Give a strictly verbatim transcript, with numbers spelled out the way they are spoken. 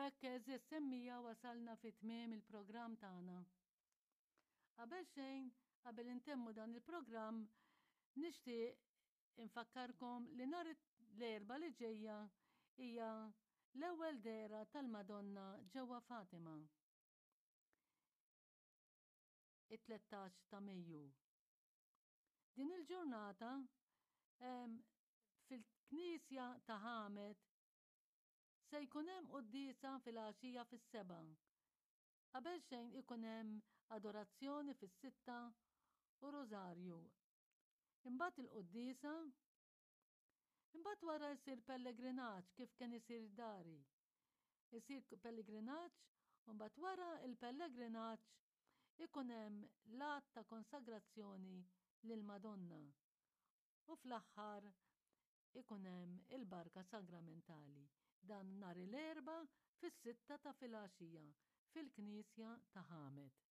hekk, għeżież semmiegħa, wasalna fi tmiem il-programm tagħna. Qabel xejn, qabel intemmu dan il-programm, nixtieq infakkarkom li nhar l-Erbgħa li ġejja hija l-ewwel dehra tal-Madonna ġewwa Fatima. It-tlettax ta' Mejju. Din il-ġurnata fil-Knisja ta' Ħamed se jkun hemm quddiesa fil-għaxija fis-sebgħa. Qabel xejn ikun hemm adorazzjoni fis-sitta u rożarju. Imbagħad il-quddiesa, imbagħad wara jsir pellegrinaġġ kif kien isir dari. Isir pellegrinaġġ u mbagħad wara il-pellegrinaġġ ikun hemm l-att ta' konsagrazzjoni lill-Madonna. U fl-aħħar ikun hemm il-barka sagramentali. Dan nhar l-Erbgħa fis-sitta ta' filgħaxija fil-Knisja ta' Ħamed.